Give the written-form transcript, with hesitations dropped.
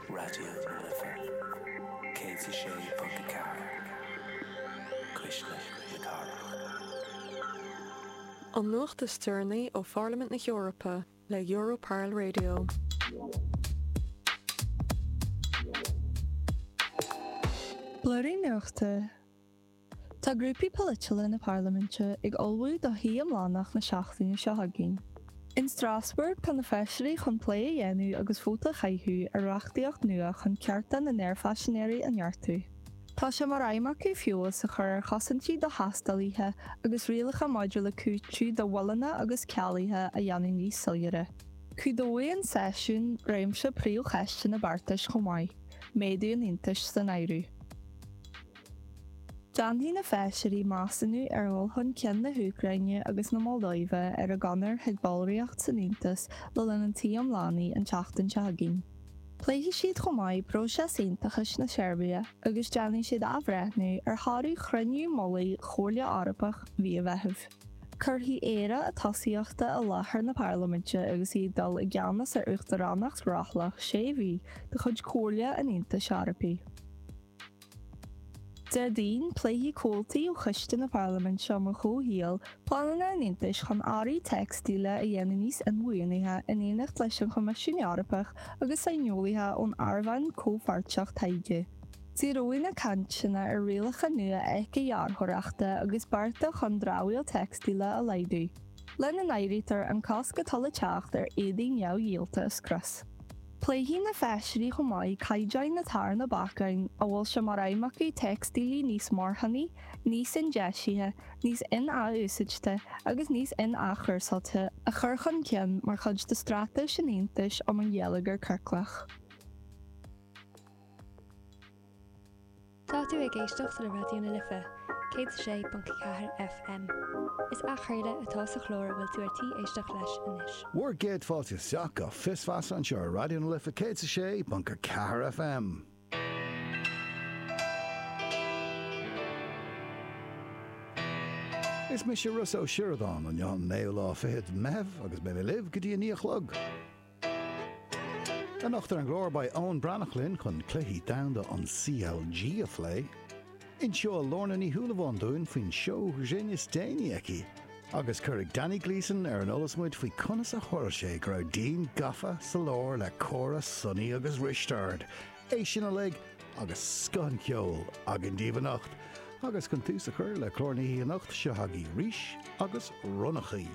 Raidió na Life 106.4, Cuisle na Cathrach. An nuacht is deireanaí ó Pharlaimint na hEorpa le Europarl Radio. Blúirín Nuachta. Tá grúpaí polaitiúla na Parlaiminte ag ullmhú do shuí iomlánach na seachtaine seo chugainn. In Strasbourg tá na feisirí chun plé a dhéanamh agus vóta a chaitheamh ar reachtaíocht nua chun cearta na n-aerphaisinéirí a neartú. Tá sé mar aidhm acu feabhas a chur ar chosaintí do thaistealaithe agus rialacha maidir le cúiteamh do mhoilleanna agus cealuithe a dhéanamh níos soiléire. Cumhdóidh an seisiún réimse príomhcheisteanna beartais chomh maith, méadú an Aontais san áireamh. Déanfaidh na feisirí measúnú ar dhul chun cinn na hÚcráine agus na Moldóive ar a gconair chuig ballraíocht san Aontas le linn an tsuí iomlánaigh an tseachtain seo chugainn. Pléifidh siad chomh maith próiseas aontachais na Seirbia agus déanfaidh siad athbhreithniú ar thoradh chruinniú mullaigh Chomhairle Eorpach mhí an Mheithimh. Cuirfidh Éire a tosaíochtaí i láthair na Parlaiminte agus í ag dul i gceannas ar Uachtaránacht rothlach sé mhí de chuid Chomhairle an Aontais Eorpaigh. Déardaoin, pléifidh comhaltaí ó Choiste na Parlaiminte um an Chomhshaol pleananna an Aontais chun earraí teicstíle a dhéanamh níos inbhuanaithe in éineacht leis an Choimisiún Eorpach agus saineolaithe ón Airmheán Comhpháirteach Taighde. Díreoidh na cainteanna ar rialacha nua éicidhearthóireachta agus bearta chun dramhaíl teicstíle a laghdú, lena n-áirítear an cosc atá le teacht ar éadaí neamhdhíolta a scrios. Pléifidh na feisirí chomh maith caighdeáin atá ar na bacáin a bhfuil sé mar aidhm acu teicstílí níos marthanaí, níos indeisithe, níos in-athúsáidte agus níos in-athchúrsáilte a chur chun cinn mar chuid de straitéis an Aontais um an gheilleagar ciorclach. Tá tú ag éisteacht le Raidió na Life 106.4 FM. Is athchraoladh atá sa chlár a bhfuil tú ar tí éisteacht leis anois. Bhur gcéad fáilte isteach go Fios Feasa anseo ar Raidió na Life 106.4 FM. Is mise Rossa Ó Sioradáin, inniu an naoú lá fichead Meitheamh agus beidh mé libh go dtí a naoi a chlog. Anocht ar an gclár beidh Eoin Breathnach linn chun cluichí domhanda an CLG a phlé. Inseoidh Lorna Ní Shúilleabháin dúinn faoin seó grinn is déanaí aici. Agus cuirfidh Danny Gleeson ar an eolas muid faoi conas a tharla sé go raibh Dean gafa sa lár le Córa, Sonaí agus Risteard. É sin uilig agus scoth an cheoil againn daoibh anocht. Agus chun tús a chur le clár na hoíche anocht, seo agaibh Rís agus Ronnachaí.